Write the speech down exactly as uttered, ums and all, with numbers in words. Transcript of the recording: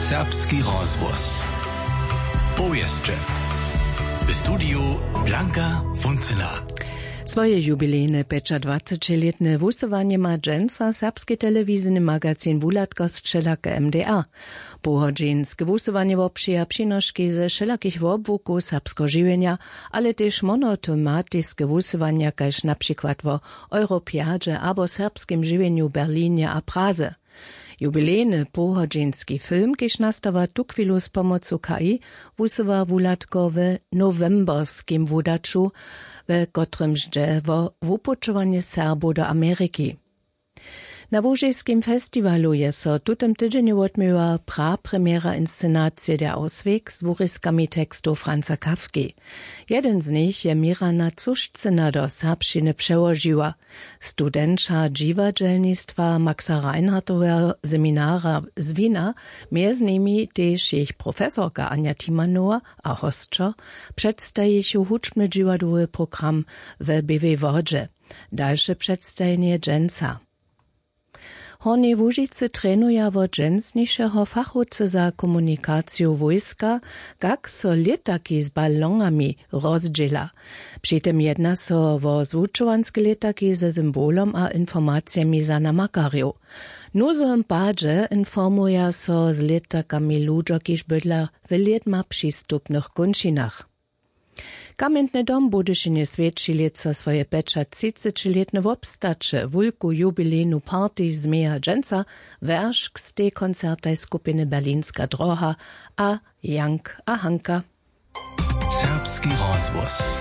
Serbski rozhłos. Powěsće. W studiju Blanka Funcyna. Swoje jubilejne pjećadwacećilětne wusyłanje ma dźensa serbski telewizijny magazin Wuhladka z wšelake M D A. Pohodźinske wusyłanje wobpřija přinoški ze wšelakich wobłukow serbskeho žiwjenja, ale tež monotematiske wusyłanja, kaž na přikład wo Europjadźe abo serbskim žiwjenju w Berlinje a Praze. Jubilejny pohodźinski film, kiž nastawa tuchwilu z pomocu K I, wusyła Wuhladko w nowemberskim wudaću, we kotrymž dźe wo wupućowanje Serbow do Ameriki. Na łužiskim festiwalu je so w tutym tydźenju wotměła prapremjera inscenacije Der Ausweg z wuriskami tekstow Franza Kafki. Jedyn z nich je Mirana Cušcyna do serbšćiny přełožiła. Studenća dźiwadźelnistwa Maxa Reinhardtoweho seminara z Wina, mjez nimi tež jejich profesorka Anja Timanowa a hosćo, předstajichu hudźbny dźiwadłowy program we Běłej Wodźe. Dalše předstajenje dźensa. W Hornjej Łužicy trenuja wot dźensnišeho fachowcy za komunikaciju wójska, kak so lětaki z balonami rozdźěla. Při tym jedna so wo zwučowanske lětaki ze symbolom a informacijemi za namakarjow. W nuzowym padźe informuja so z lětakami ludźo, kiž bydla w lědma přistupnych kónčinach. Kamjentny dom w Budyšinje swjeći lětsa swoje pjećatřicećilětne wobstaće. Wulku jubilejnu party změja dźensa Weršk z tej koncertaj skupiny Berlinska droha a Jank a Hanka. Serbski rozhłos.